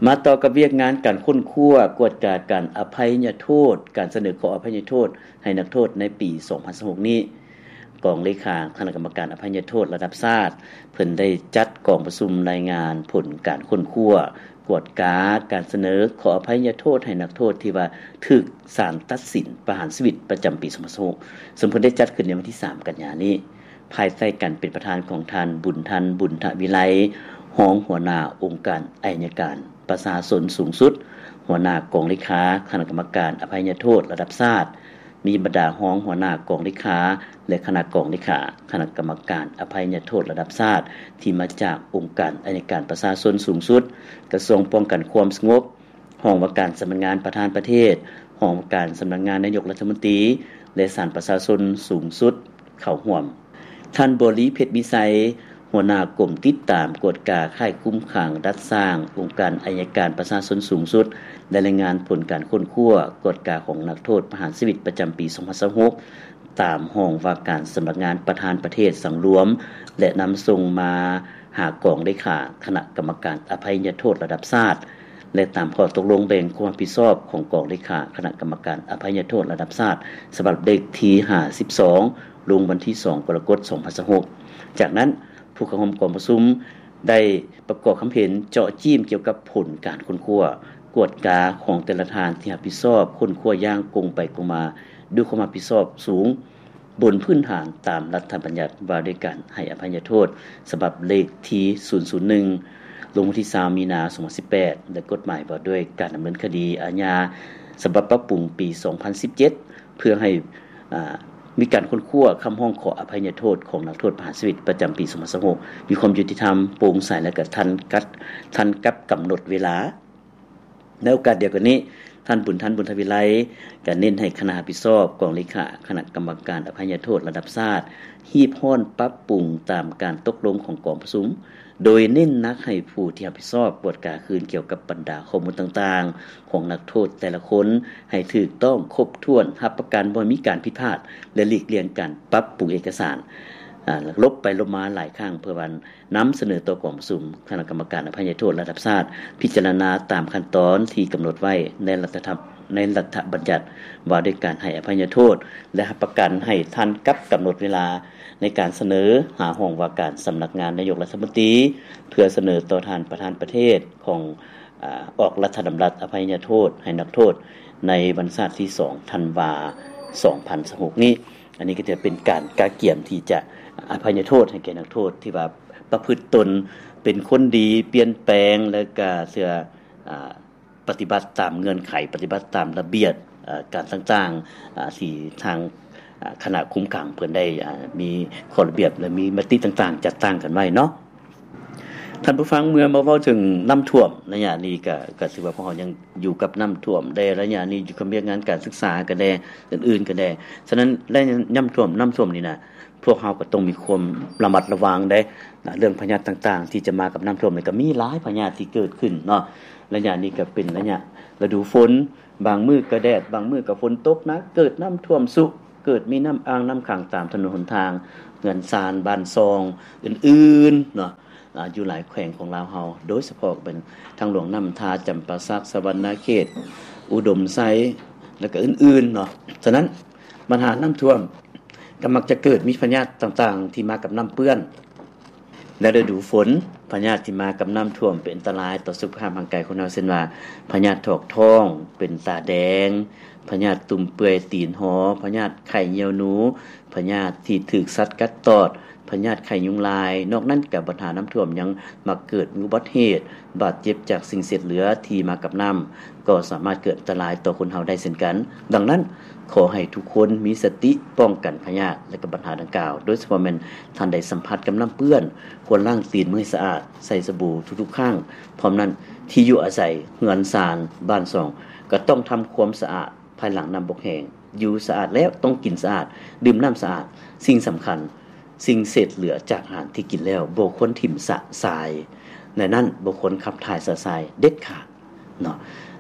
ມາຕໍ່ກັບວຽກງານການຄົ້ນຄວ້າກວດກາການອະໄພຍະໂທດ, ການສະເໜີຂໍອະໄພຍະໂທດໃຫ້ນັກໂທດໃນປີສອງພັນຊາວຫົກນີ້. ກອງເລຂາຄະນະກຳມະການອະໄພຍະໂທດລະດັບຊາດ ເພິ່ນໄດ້ຈັດກອງປະຊຸມລາຍງານຜົນການຄົ້ນຄວ້າກວດກາການສະເໜີຂໍອະໄພຍະໂທດໃຫ້ນັກໂທດທີ່ວ່າຖືກສານຕັດສິນປະຫານຊີວິດປະຈຳປີສອງພັນຊາວຫົກ ເຊິ່ງເພິ່ນໄດ້ຈັດຂຶ້ນໃນວັນທີສາມກັນຍານີ້ ພາຍໃຕ້ການເປັນປະທານຂອງທ່ານ ບຸນທັນ ບຸນທະວິໄລ ຮອງຫົວໜ້າອົງການໄອຍະການປະຊາຊົນສູງສຸດ, ຫົວໜ້າກອງເລຂາຄະນະກຳມະການອະໄພຍະໂທດລະດັບຊາດ, ມີບັນດາຮອງຫົວໜ້າກອງເລຂາ ແລະ ຄະນະກອງເລຂາຄະນະກຳມະການອະໄພຍະໂທດລະດັບຊາດ ທີ່ມາຈາກອົງການໄອຍະການປະຊາຊົນສູງສຸດ, ກະຊວງປ້ອງກັນຄວາມສະຫງົບ, ຫ້ອງວ່າການສຳນັກງານປະທານປະເທດ, ຫ້ອງວ່າການສຳນັກງານນາຍົກລັດຖະມົນຕີ ແລະ ສານປະຊາຊົນສູງສຸດເຂົ້າຮ່ວມ. ທ່ານ ບໍລີ ເພັດວິໄຊ ຫົວໜ້າກົມຕິດຕາມກວດກາຄ້າຍຄຸມຂັງດັດສ້າງອົງການໄອຍະການປະຊາຊົນສູງສຸດ ໄດ້ລາຍງານຜົນການຄົ້ນຄວ້າກວດກາຂອງນັກໂທດປະຫານຊີວິດປະຈຳປີສອງພັນຊາວຫົກ ຕາມຫ້ອງວ່າການສຳນັກງານປະທານປະເທດສັງລວມ ແລະ ນຳສົ່ງມາຫາກອງເລຂາຄະນະກຳມະການອະໄພຍະໂທດລະດັບຊາດ ແລະ ຕາມຂໍ້ຕົກລົງແບ່ງຄວາມຮັບຜິດຊອບຂອງກອງເລຂາຄະນະກຳມະການອະໄພຍະໂທດລະດັບຊາດ ສະບັບເລກທີຫ້າສິບສອງ ລົງວັນທີສອງ ກໍລະກົດ ສອງພັນຊາວຫົກ. ຈາກນັ້ນ, ຜູ້ເຂົ້າຮ່ວມກອງປະຊຸມໄດ້ປະກອບຄຳເຫັນເຈາະຈີ້ມກ່ຽວກັບຜົນການຄົ້ນຄວ້າກວດກາຂອງແຕ່ລະທ່ານທີ່ຮັບຜິດຊອບຄົ້ນຄວ້າຢ່າງກົງໄປກົງມາ ດ້ວຍຄວາມຮັບຜິດຊອບສູງ ບົນພື້ນຖານຕາມລັດຖະບັນຍັດວ່າດ້ວຍການໃຫ້ອະໄພຍະໂທດ ສະບັບເລກທີສູນສູນໜຶ່ງ ລົງວັນທີຊາວ ມີນາ ສອງພັນສິບແປດ ແລະ ກົດໝາຍວ່າດ້ວຍການດຳເນີນຄະດີອາຍາ ສະບັບປັບປຸງປີສອງພັນສິບເຈັດ ເພື່ອໃຫ້ ອາ ມີການຄົ້ນຄວ້າຄຳຮ້ອງຂໍອະໄພຍະໂທດຂອງນັກໂທດປະຫານຊີວິດປະຈຳປີສອງພັນຊາວຫົກ ມີຄວາມຍຸຕິທຳ, ໂປ່ງໃສ ແລະ ກະທັນກັບ ທັນກັບກຳນົດເວລາ. ໃນໂອກາດດຽວກັນນີ້, ທ່ານ ບຸນທັນ ບຸນທະວິໄລ ກະເນັ້ນໃຫ້ຄະນະຮັບຜິດຊອບກອງເລຂາຄະນະກຳມະການອະໄພຍະໂທດລະດັບຊາດ ຮີບຮ້ອນປັບປຸງຕາມການຕົກລົງຂອງກອງປະຊຸມ, ໂດຍເນັ້ນໜັກໃຫ້ຜູ້ທີ່ຮັບຜິດຊອບກວດກາຄືນກ່ຽວກັບບັນດາຂໍ້ມູນຕ່າງໆຂອງນັກໂທດແຕ່ລະຄົນໃຫ້ຖືກຕ້ອງຄົບຖ້ວນ, ຮັບປະກັນບໍ່ໃຫ້ມີການຜິດພາດ ແລະ ຫຼີກລ່ຽງການປັບປຸງເອກະສານ ອາ ລົບໄປລົບມາຫຼາຍຄັ້ງ ເພື່ອວ່າ ນຳສະເໜີຕໍ່ກອງປະຊຸມຄະນະກຳມະການອະໄພຍະໂທດລະດັບຊາດ ພິຈາລະນາຕາມຂັ້ນຕອນທີ່ກຳນົດໄວ້ໃນລັດຖະທຳ ໃນລັດຖະບັນຍັດວ່າດ້ວຍການໃຫ້ອະໄພຍະໂທດ ແລະ ຮັບປະກັນໃຫ້ທັນກັບກຳນົດເວລາໃນການສະເໜີຫາຫ້ອງວ່າການສຳນັກງານນາຍົກລັດຖະມົນຕີ ເພື່ອສະເໜີຕໍ່ທ່ານປະທານປະເທດຂອງ ອາ ອອກລັດຖະດຳລັດອະໄພຍະໂທດໃຫ້ນັກໂທດໃນວັນຊາດທີສອງ ທັນວາ ສອງພັນຊາວຫົກນີ້. ອັນນີ້ກໍຈະເປັນການກະກຽມທີ່ຈະອະໄພຍະໂທດໃຫ້ແກ່ນັກໂທດທີ່ວ່າປະພຶດຕົນເປັນຄົນດີ, ປ່ຽນແປງ ແລະກະເຊື່ອ ອາ ປະຕິບັດຕາມເງື່ອນໄຂ, ປະຕິບັດຕາມລະບຽບ ອາ ການຕ່າງໆ ອາ ທີ່ທາງ ອາ ຄະນະຄຸມຂັງເພິ່ນໄດ້ ອາ ມີຂໍ້ລະບຽບ ແລະ ມີມະຕິຕ່າງໆ ຈັດຕັ້ງກັນໄວ້ເນາະ. ທ່ານຜູ້ຟັງ, ເມື່ອມາເວົ້າເຖິງນ້ຳຖ້ວມໄລຍະນີ້ ກະ ກະຖືວ່າພວກເຮົາຍັງຢູ່ກັບນ້ຳຖ້ວມແດ່ໄລຍະນີ້ ຢູ່ກັບວຽກງານການສຶກສາກະແດ່ ອື່ນໆກະແດ່. ສະນັ້ນ ໄລຍະນ້ຳຖ້ວມ ນ້ຳຖ້ວມນີ້ນະ ພວກເຮົາກໍຕ້ອງມີຄວາມລະມັດລະວັງເດ້ ເລື່ອງພະຍາດຕ່າງໆ ທີ່ຈະມາກັບນ້ຳຖ້ວມ ແລ້ວກໍມີຫຼາຍພະຍາດທີ່ເກີດຂຶ້ນເນາະ. ໄລຍະນີ້ກໍເປັນໄລຍະລະດູຝົນ ບາງມື້ກໍແດດ ບາງມື້ກໍຝົນຕົກໜັກ ເກີດນ້ຳຖ້ວມຊຸ ເກີດມີນ້ຳອ່າງນ້ຳຂັງຕາມຖະໜົນຫົນທາງ ເຮືອນຊານ ບ້ານຊ່ອງ ອື່ນໆເນາະ. ອາ ຢູ່ຫຼາຍແຂວງຂອງລາວເຮົາ ໂດຍສະເພາະເປັນທາງຫຼວງນ້ຳທາ ຈຳປາສັກ ສະຫວັນນະເຂດ ອຸດົມໄຊ ແລ້ວກໍອື່ນໆເນາະ. ສະນັ້ນ ບັນຫານ້ຳຖ້ວມກໍມັກຈະເກີດມີພະຍາດຕ່າງໆ ທີ່ມາກັບນ້ຳເປື້ອນ ແລະ ລະດູຝົນ ພະຍາດທີ່ມາກັບນ້ຳຖ້ວມເປັນອັນຕະລາຍຕໍ່ສຸຂະພາບຮ່າງກາຍຄົນເຮົາ ເຊັ່ນວ່າ ພະຍາດຖອກທ້ອງ ເປັນຕາແດງ ພະຍາດຕຸ່ມເປື່ອຍຕີນຫໍ ພະຍາດໄຂ້ຍ່ຽວໜູ ພະຍາດທີ່ຖືກສັດກັດຕອດ ພະຍາດໄຂ້ຍຸງລາຍ. ນອກນັ້ນກໍບັນຫານ້ຳຖ້ວມຍັງມັກເກີດມີອຸບັດເຫດ ບາດເຈັບຈາກສິ່ງເສດເຫຼືອທີ່ມາກັບນ້ຳ ກໍສາມາດເກີດອັນຕະລາຍຕໍ່ຄົນເຮົາໄດ້ເຊັ່ນກັນ. ດັ່ງນັ້ນ ຂໍໃຫ້ທຸກຄົນມີສະຕິປ້ອງກັນພະຍາດ ແລະ ກໍບັນຫາດັ່ງກ່າວ, ໂດຍສະເພາະແມ່ນທ່ານໃດສຳຜັດກັບນ້ຳເປື້ອນ ຄວນລ້າງຕີນມືໃຫ້ສະອາດ ໃຊ້ສະບູທຸກໆຄັ້ງ. ພ້ອມນັ້ນ ທີ່ຢູ່ອາໄສ ເຮືອນຊານ ບ້ານຊ່ອງ ກໍຕ້ອງທຳຄວາມສະອາດ ພາຍຫຼັງນ້ຳບົກແຫ້ງ. ຢູ່ສະອາດແລ້ວຕ້ອງກິນສະອາດ, ດື່ມນ້ຳສະອາດ. ສິ່ງສຳຄັນ, ສິ່ງເສດເຫຼືອຈາກອາຫານທີ່ກິນແລ້ວບໍ່ຄວນຖິ້ມຊະຊາຍ. ແນວນັ້ນບໍ່ຄວນຂັບຖ່າຍຊະຊາຍເດັດຂາດເນາະ.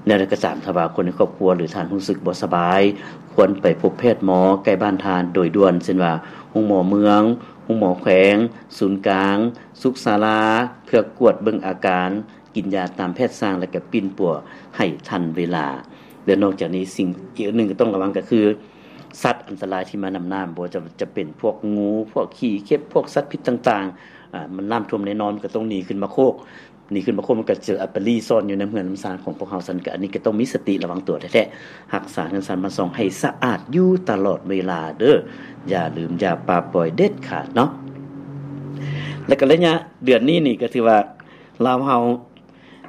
ແນວໃດກໍຕາມ, ຖ້າວ່າຄົນໃນຄອບຄົວ ຫຼື ທ່ານຮູ້ສຶກບໍ່ສະບາຍ, ຄວນໄປພົບແພດໝໍໃກ້ບ້ານທ່ານໂດຍດ່ວນ, ເຊັ່ນວ່າ ໂຮງໝໍເມືອງ, ໂຮງໝໍແຂວງ, ສູນກາງ, ສຸກສາລາ, ເພື່ອກວດເບິ່ງອາການ, ກິນຢາຕາມແພດສັ່ງ ແລະ ກໍປິ່ນປົວໃຫ້ທັນເວລາ. ແລະ ນອກຈາກນີ້ ສິ່ງອີກອັນໜຶ່ງກໍຕ້ອງລະວັງກໍຄື ສັດອັນຕະລາຍທີ່ມານຳນ້ຳ, ບໍ່ວ່າຈະ ຈະເປັນພວກງູ, ພວກຂີ້ເຂັບ, ພວກສັດພິດຕ່າງໆ. ອາ ມັນນ້ຳຖ້ວມແນ່ນອນ, ມັນກໍຕ້ອງໜີຂຶ້ນມາໂຄກ, ໜີຂຶ້ນມາໂຄກ ມັນກໍຈະໄປລີ້ຊ່ອນຢູ່ໃນເຮືອນນຳຊານຂອງພວກເຮົາ. ຊັ້ນກໍ ອັນນີ້ກໍຕ້ອງມີສະຕິລະວັງຕົວແທ້ໆ, ຮັກສາເຮືອນຊານບ້ານຊ່ອງໃຫ້ສະອາດຢູ່ຕະຫຼອດເວລາເດີ້, ຢ່າລືມຢ່າປະປ່ອຍເດັດຂາດເນາະ. ແລະ ກໍໄລຍະເດືອນນີ້ນີ້ ກໍຖືວ່າ ລາວເຮົາ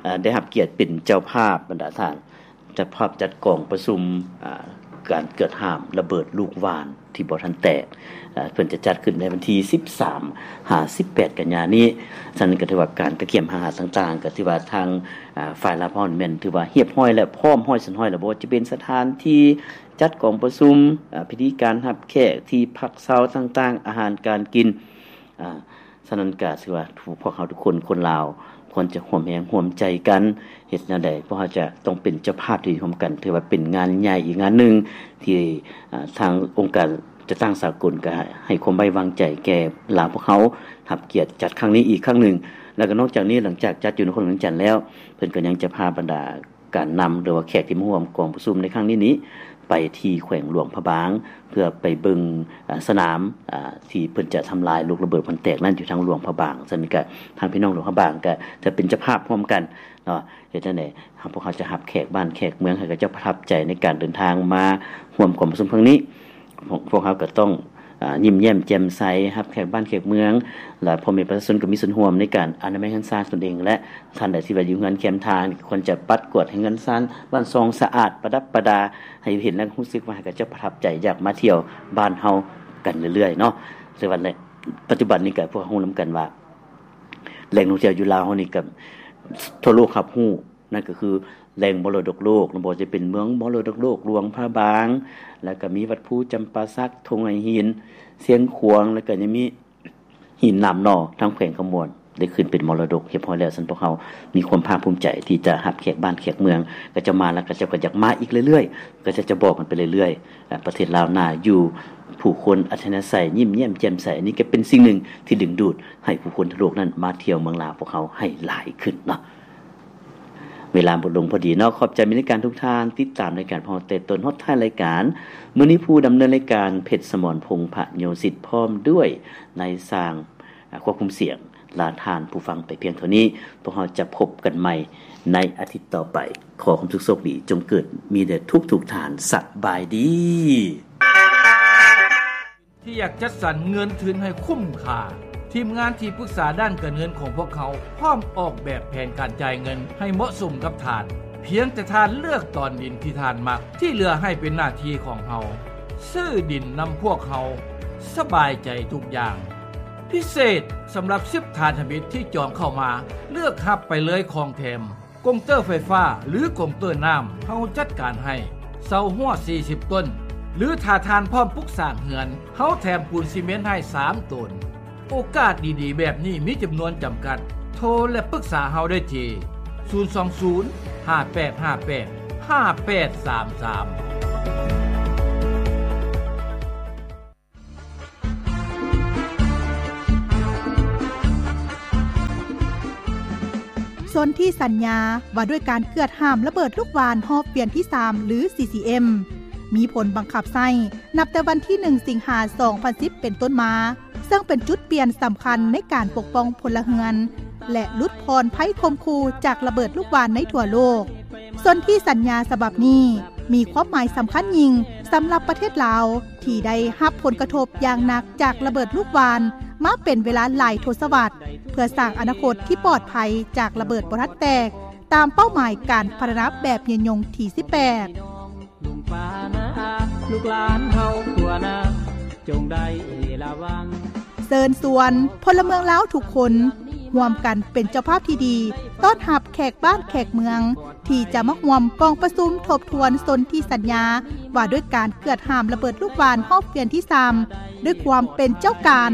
ເອີ່ ໄດ້ຮັບກຽດເປັນເຈົ້າພາບ ບັນດາທ່ານ ເຈົ້າພາບຈັດກອງປະຊຸມ ອາ ການກວດຫ້າມລະເບີດລູກຫວ່ານທີ່ບໍ່ທັນແຕກ. ເອີ່ ເພິ່ນຈະຈັດຂຶ້ນໃນວັນທີສິບສາມຫາສິບແປດກັນຍານີ້. ສະນັ້ນກໍຖືວ່າການກະກຽມຫາຫາຕ່າງໆ ກໍຖືວ່າທາງ ອາ ຝ່າຍລາວເຮົາແມ່ນຖືວ່າຮຽບຮ້ອຍແລ້ວ, ພ້ອມຮ້ອຍສ່ວນຮ້ອຍແລ້ວ. ບໍ່ວ່າຈະເປັນສະຖານທີ່ຈັດກອງປະຊຸມ, ອາ ພິທີການຮັບແຂກ, ທີ່ພັກເຊົາຕ່າງໆ, ອາຫານການກິນ, ອາ ສະນັ້ນກໍຖືວ່າພວກເຮົາທຸກຄົນ ຄົນລາວ ຄວນຈະຮ່ວມແຮງຮ່ວມໃຈກັນ. ເຮັດແນວໃດພວກເຮົາຈະຕ້ອງເປັນເຈົ້າພາບທີ່ດີຮ່ວມກັນ? ຖືວ່າເປັນງານໃຫຍ່ອີກງານໜຶ່ງທີ່ ອາ ທາງອົງການຈັດຕັ້ງສາກົນກໍໃຫ້ຄວາມໄວ້ວາງໃຈແກ່ລາວພວກເຮົາ ຮັບກຽດຈັດຄັ້ງນີ້ອີກຄັ້ງໜຶ່ງ. ແລ້ວກໍນອກຈາກນີ້ ຫຼັງຈາກຈັດຢູ່ນະຄອນຫຼວງວຽງຈັນແລ້ວ ເພິ່ນກໍຍັງຈະພາບັນດາ ການນຳ ຫຼືວ່າແຂກທີ່ມາຮ່ວມກອງປະຊຸມໃນຄັ້ງນີ້ນີ້ ໄປທີ່ແຂວງຫຼວງພະບາງ ເພື່ອໄປເບິ່ງ ອາ ສະໜາມ ອາ ທີ່ເພິ່ນຈະທຳລາຍລູກລະເບີດມັນແຕກນັ້ນ ຢູ່ທາງຫຼວງພະບາງ. ສະນັ້ນກະ ທາງພີ່ນ້ອງຫຼວງພະບາງກະຈະເປັນເຈົ້າພາບຮ່ວມກັນເນາະ. ເຮັດຈັ່ງໃດ ພວກເຮົາຈະຮັບແຂກບ້ານແຂກເມືອງ ໃຫ້ເຂົາເຈົ້າປະທັບໃຈໃນການເດີນທາງມາຮ່ວມກອງປະຊຸມຄັ້ງນີ້. ພວກ ພວກເຮົາກໍຕ້ອງ ອາ ຍິ້ມແຍ້ມແຈ່ມໃສ ຮັບແຂກບ້ານແຂກເມືອງ ແລະ ພໍ່ແມ່ປະຊາຊົນກໍມີສ່ວນຮ່ວມໃນການອະນາໄມເຮືອນຊານຕົນເອງ ແລະ ທ່ານໃດທີ່ວ່າຢູ່ເຮືອນແຄມທາງ ກໍຄວນຈະປັດກວາດໃຫ້ເຮືອນຊານບ້ານຊ່ອງສະອາດປະດັບປະດາ ໃຫ້ເຫັນແລ້ວຮູ້ສຶກວ່າ ໃຫ້ເຂົາເຈົ້າປະທັບໃຈ ຢາກມາທ່ຽວບ້ານເຮົາກັນເລື້ອຍໆເນາະ. ແຕ່ວ່າໃນປັດຈຸບັນນີ້ກໍພວກເຮົາຮູ້ນຳກັນວ່າ ແຫຼ່ງທ່ອງທ່ຽວຢູ່ລາວເຮົານີ້ກໍທົ່ວໂລກຮັບຮູ້ ນັ້ນກໍຄືແຫຼ່ງມໍລະດົກໂລກ ບໍ່ວ່າຈະເປັນເມືອງມໍລະດົກໂລກຫຼວງພະບາງ ແລ້ວກໍມີວັດພູຈຳປາສັກ ທົ່ງໄຫຫີນ ຊຽງຂວາງ ແລ້ວກໍຍັງມີຫີນໜາມໜໍ່ ທາງແຂວງຄຳມ່ວນ ໄດ້ຂຶ້ນເປັນມໍລະດົກຮຽບຮ້ອຍແລ້ວ. ຊັ້ນພວກເຮົາມີຄວາມພາກພູມໃຈທີ່ຈະຮັບແຂກບ້ານແຂກເມືອງ ເຂົາເຈົ້າມາແລ້ວ ເຂົາເຈົ້າກໍຢາກມາອີກເລື້ອຍໆ ເຂົາເຈົ້າຈະບອກກັນໄປເລື້ອຍໆ. ອາ ປະເທດລາວໜ້າຢູ່ ຜູ້ຄົນອັດທະຍາໄສ ຍິ້ມແຍ້ມແຈ່ມໃສ ອັນນີ້ກໍເປັນສິ່ງໜຶ່ງທີ່ດຶງດູດໃຫ້ຜູ້ຄົນທົ່ວໂລກນັ້ນມາທ່ຽວເມືອງລາວພວກເຮົາໃຫ້ຫຼາຍຂຶ້ນເນາະ. ເວລາໝົດລົງພໍດີເນາະ. ຂອບໃຈມິດລາຍການທຸກທ່ານ ຕິດຕາມລາຍການພວກເຮົາແຕ່ຕົ້ນຮອດທ້າຍລາຍການ. ມື້ນີ້ຜູ້ດຳເນີນລາຍການ ເພັດສະໝອນ ພົງພະໂຍສິດ ພ້ອມດ້ວຍນາຍຊ່າງ ອາ ຄວບຄຸມສຽງ ລາທ່ານຜູ້ຟັງໄປພຽງເທົ່ານີ້. ພວກເຮົາຈະພົບກັນໃໝ່ໃນອາທິດຕໍ່ໄປ. ຂໍຄວາມສຸກໂຊກດີ ຈົ່ງເກີດມີແດ່ທຸກໆທ່ານ. ສະບາຍດີ. ທີ່ຢາກຈັດສັນເງິນທຶນໃຫ້ຄຸ້ມຄ່າ. ທີມງານທີ່ປຶກສາດ້ານການເງິນຂອງພວກເຮົາ ພ້ອມອອກແບບແຜນການຈ່າຍເງິນໃຫ້ເໝາະສົມກັບທ່ານ. ພຽງແຕ່ທ່ານເລືອກຕອນດິນທີ່ທ່ານມັກ, ທີ່ເຫຼືອໃຫ້ເປັນໜ້າທີ່ຂອງເຮົາ. ຊື້ດິນນຳພວກເຮົາ, ສະບາຍໃຈທຸກຢ່າງ. ພິເສດສຳລັບສິບທ່ານທຳອິດທີ່ຈອງເຂົ້າມາ, ເລືອກຮັບໄປເລີຍຂອງແຖມ. ກົງເຕີໄຟຟ້າ ຫຼື ກົງເຕີນ້ຳ ເຮົາຈັດການໃຫ້. ເສົາຮົ້ວສີ່ສິບຕົ້ນ, ຫຼືຖ້າທ່ານພ້ອມປຸກສ້າງເຮືອນ, ເຮົາແຖມປູນຊີເມັນໃຫ້ສາມໂຕນ. ໂອກາດດີໆແບບນີ້ມີຈຳນວນຈຳກັດ. ໂທ ແລະ ປຶກສາເຮົາໄດ້ທີ່ ສູນສອງສູນ ຫ້າແປດຫ້າແປດ ຫ້າແປດສາມສາມ. ສົນທິສັນຍາວ່າດ້ວຍການເກືອດຫ້າມລະເບີດລູກຫວ່ານຮອບວຽນທີສາມ ຫຼື ຊີຊີເອັມ ມີຜົນບັງຄັບໃຊ້ນັບແຕ່ວັນທີໜຶ່ງ ສິງຫາ ສອງພັນສິບ ເປັນຕົ້ນມາ, ເຊິ່ງເປັນຈຸດປ່ຽນສຳຄັນໃນການປົກປ້ອງພົນລະເຮືອນ ແລະ ຫຼຸດຜ່ອນໄພຂົ່ມຂູ່ຈາກລະເບີດລູກຫວ່ານໃນທົ່ວໂລກ. ສົນທິສັນຍາສະບັບນີ້ມີຄວາມໝາຍສຳຄັນຍິ່ງສຳລັບປະເທດລາວ ທີ່ໄດ້ຮັບຜົນກະທົບຢ່າງໜັກຈາກລະເບີດລູກຫວ່ານມາເປັນເວລາຫຼາຍທົດສະວັດ, ເພື່ອສ້າງອະນາຄົດທີ່ປອດໄພຈາກລະເບີດບໍ່ທັນແຕກ, ຕາມເປົ້າໝາຍການພັດທະນາແບບຍືນຍົງທີສິບແປດ. ລຸງປ້ານ້າອາ ລູກຫຼານເຮົາທົ່ວໜ້າ ຈົ່ງໄດ້ລະວັງ. ເຊີນຊວນພົນລະເມືອງລາວທຸກຄົນ ຮ່ວມກັນເປັນເຈົ້າພາບທີ່ດີ ຕ້ອນຮັບແຂກບ້ານແຂກເມືອງ ທີ່ຈະມາຮ່ວມກອງປະຊຸມທົບທວນສົນທິສັນຍາ ວ່າດ້ວຍການເກືອດຫ້າມລະເບີດລູກຫວ່ານຮອບວຽນທີສາມ ດ້ວຍຄວາມເປັນເຈົ້າການ.